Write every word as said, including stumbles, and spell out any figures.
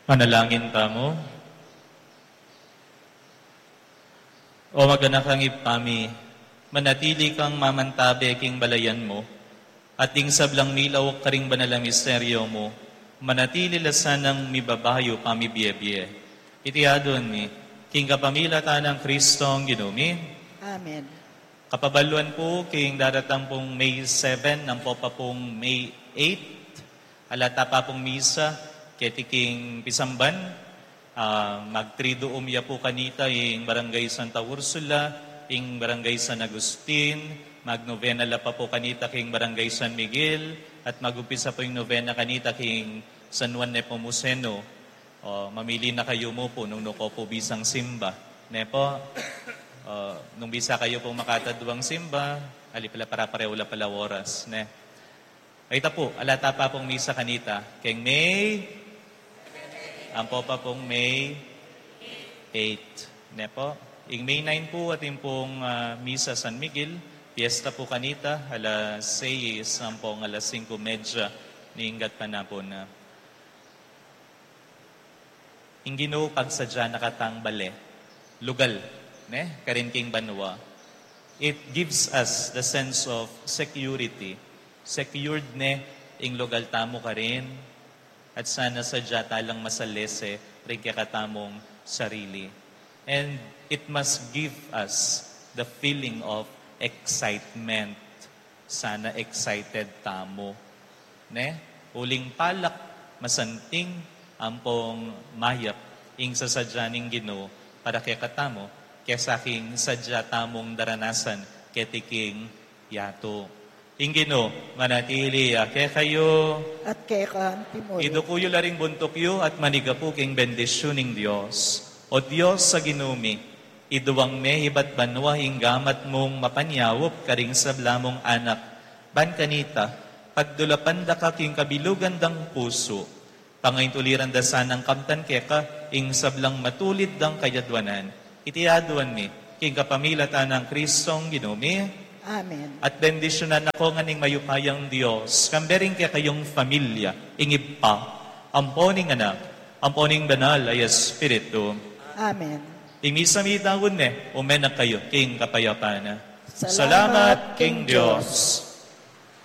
Manalangin tamu. O maganakang Ibpa mi, manatili kang mamantabe king balayan mu, at ding sablang milauk karing banal a misteryo mu, manatili la sanang mibabayu pamibie-bie. Iti adwan mi, king kapamilatan nang Kristong Ginu mi. Amen. Kapabaluan pu king daratang pung May seven, ampo pa pung May eight, ala ta pa pung misa, keti king pisamban, ah, mag-triduum ya pu kanita ing Barangay Santa Ursula, ing Barangay San Agustin, magnovena la pa pu kanita king Barangay San Miguel, at mag-umpisa pu ing novena kanita king San Juan Nepomuceno. O, mamili na kayu mu pu nung nuko pu bisang simba. Ne pu? O, nung bisa kayu pu makataduang simba, ali pala, para pareho la pala oras, ne? Ay, ita pu, ala ta pa pung misa kanita. King May, ampo pa pung May eight. Ne pu? Ing May nine pu, atin pung, ah, misa San Miguel, fiesta pu kanita, alas seis, ampong alas singko medya, ning gatpanapun na. Ing Ginu pagsadya na katang bale, lugal, ne, karin king banua. It gives us the sense of security. Secured ne ing lugal tamu karin, at sana sadya ta lang masalese ring kekatamung sarili. And it must give us the feeling of excitement. Sana excited tamu, ne? Uling palak, masanting, ampong mayap ing sasadya ning Ginu para kekatamu, kesa king sadya tamung daranasan keti king yatu. Ing Ginu manatili ya kekayu. At keka antimurin. Iduku yu la ring buntuk yu at manigapu king bendisyun ning Dios. O Dios a Ginu mi, iduang me ibat banua ing gamat mung mapanyaup karing sabla mung anak, ban kanita, pagdulapan da ka king kabilugan dang pusu, pangaintuliran da sanang kamtan keka ing sablang matulid dang kayadwanan. Iti aduan mi king kapamilatan nang Kristong Ginu mi. Amen. At bendisyunan na ko ngan ning mayupayang Dios, kambe ring kekayung familia, ing Ibpa, ampo ning Anak, ampo ning Banal a Espiritu. Amen. Ing misa mi daun ne, ume na kayu king kapayapan. Salamat king Dios.